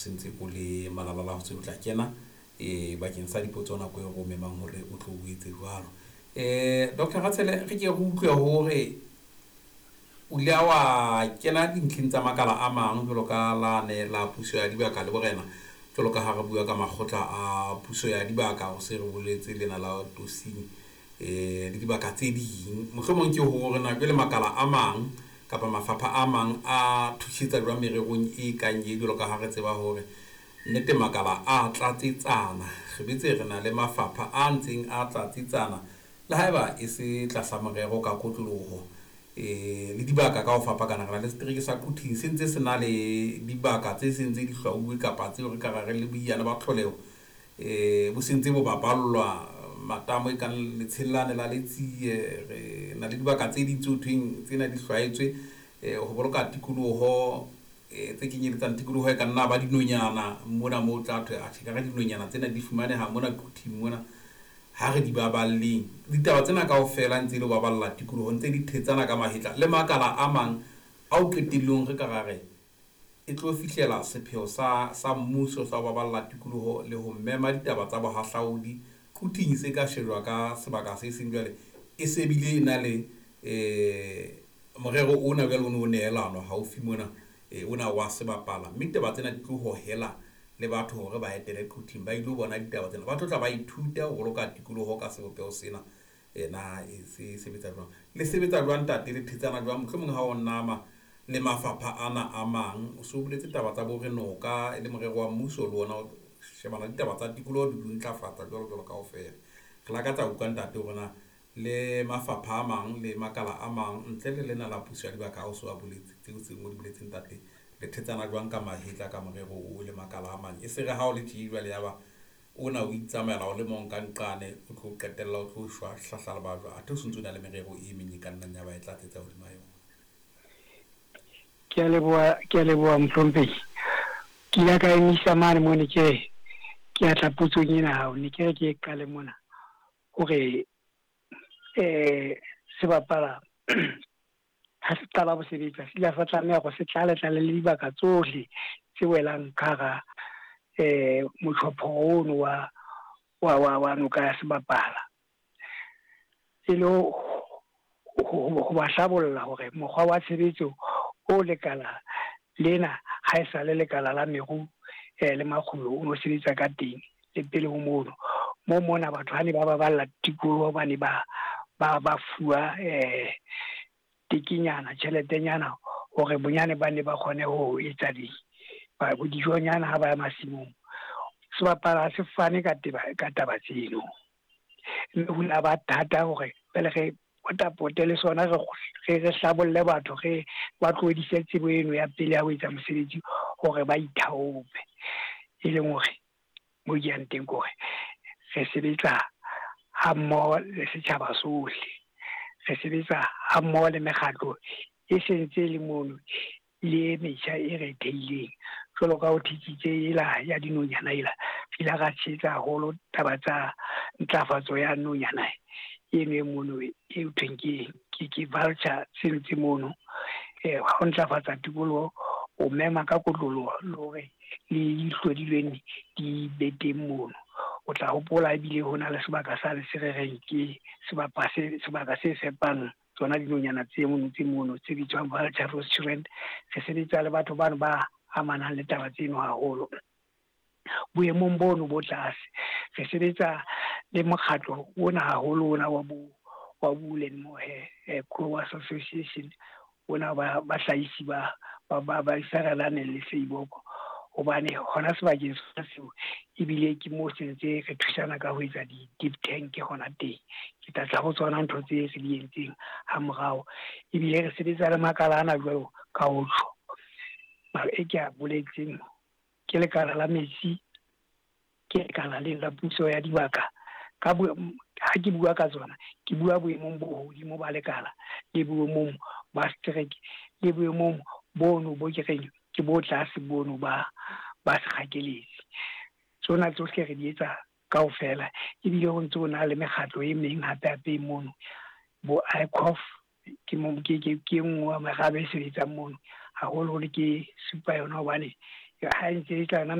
Sentse o le malala ho tse o tla kena bakeng sa dipotso nako e re o memang hore o tlo o etse jwalo. Dr. Ratshele, re ke re utlwe hore o ile wa kena dintlheng tsa makala a mang jwalo ka lane la puso ya dibaka le borena, jwalo ka ha re bua ka makgotla a puso ya dibaka, o se re boletse lena la Tosing le dibaka tse ding. Mohlomong ke hore na jwale makala a mang kapa mafapha a mang a thusetsa jwang mererong e kang e, jwalo ka ha re tseba hore nnete makala a tlatsetsana, re betse re na le mafapha a ntseng a tlatsetsana le haeba e se tlasa morero ka kotloloho le dibaka ka ho fapakana. Re na le setereke sa Quthing se ntse se na le dibaka tse seng tse di hlwauwe kapa tseo re ka ra re le boiyane ba tlholeho bo sentse bo bapallwa matamo e kang letshellane la Letsie. Re na le dibaka tse ding tse ho thweng tsena di hlwaetswe ho boloka tikoloho tse kenyeletsang tikoloho e ka nna ba dinonyana mona moo tla thwe atjhe ka re dinonyana tsena di fumaneha mona Quthing mona, ha re di baballeng. Ditaba tsena kaofela ntse e le ho baballa tikoloho, ntse di thetsana ka mahetla le makala a mang ao qetellong re ka ra re e tlo fihlela sepheo sa mmuso sa ho baballa tikoloho le ho mema ditaba tsa bohahlaudi. Quthing se ka shejwa ka sebaka se seng jwale e se bile e na le morero ona jwale o ne o nehelanwa haufi mona ona wa sebapala, mme ditaba tsena di tlo hohela le batho hore ba etele Quthing ba ilo bona ditaba tsena, ba tlo tla ba ithuta ho boloka tikoloho ka sebopeho sena. Na e se sebetsa jwang, le sebetsa jwang ntate, le thetsana jwang mohlomong ha o nama le mafapha ana a mang? O so boletse taba tsa bo re noka e le morero wa mmuso le ona o shebana le ditaba tsa tikoloho di ntlafatsa jwalo jwalo kaofela. Re lakatsa ho utlwa ntate hore na le mafapha a mang le makala a mang ntle le lena la puso ya dibaka ha o so a boletse tseo tse o di boletseng ntate, le thetsana jwang ka mahetla ka morero o le makala a mang, e se re ha o le tje jwale ya ba ona o itsamaela o le mong ka nqane, o tlo qetella o tlo shwa hlahla le bajwa, athe o sentse o na le merero e meng e ka nnang ya ba e tlatsetsa hodima yona. Ke a leboha, ke a leboha mohlomphehi. Ke ile ka emisa mane mo ne ke re ke a tla potsong ena hao, ne ke re ke e qale mona hore sebapala ha se qala ho sebetsa se ile sa tlameha hore se tlale tlale le dibaka tsohle tse welang ka hara motjhopho ono wa noka ya sebapala, e le ho ba hlabolla hore mokgwa wa tshebetso o lekala lena ha e sale lekala la meru le makgulo o no sebetsa ka teng le pele ho mono. Mo mona batho ha ne ba baballa tikoloho ba ne ba fuwa tekenyana, tjheletenyana hore bonyane ba ne ba kgone ho etsa dijonyana ha ba ya masimong. Sebapala ha se fane ka taba tseno, mme ho la ba thata hore pele re potapote le sona re hlabolle batho, re ba tlohedise tsebo eno ya pele ya ho etsa mosebetsi hore ba ithaope. E leng hore mo ke yang teng ke hore re sebetsa ha mmoho le setjhaba sohle, re sebetsa ha mmoho le mekgatlo e sentse le mono le e metjha e re theileng. Jwalo ka ho thetsitse ela ya dinonyana ela, re ile ra tshehetsa haholo taba tsa ntlafatso ya nonyana eno e mono e thweng ke vulture sentse mono. Ha o ntlafatsa tikoloho o mema ka kotloloho le hore le dihlodilweng di be teng mono. O tla hopola ebile ho na le sebaka sa le se re reng ke sebaka se fepang tsona dinonyana tse mono tse mono tse bitswang vulture restaurant. Re sebetsa le batho bano ba amanang le taba tseno haholo boemong bono bo tlase. Re sebetsa le mokgatlo ona haholo ona wa Wool and Mohair Growers Association ona ba bahlahisi ba isarelane le Seiboko, hobane hona sebakeng sona seo ebile ke mo sentse re thusana ka ho etsa di-deep tank hona teng. Ke tla tla ho tsona ntho tse re di entseng ha morao. Ebile re sebetsa le makala ana jwalo ka ho tjho e ke a boletseng, ke lekala la metsi, ke lekala le la puso ya dibaka. Ka ha ke bua ka tsona, ke bua boemong bo hodimo ba lekala le boemong ba setereke le boemong bono bo ke reng ke bo tlase bono ba sekgakeletsi. Tsona tsohle re di etsa kaofela. Ebile ho ntse ho na le mekgatlo e meng hape hape mono, bo ICOF ke nngwe ya merabe e sebetsang mono haholoholo, ke supa yona hobane Ha e ntse e tla.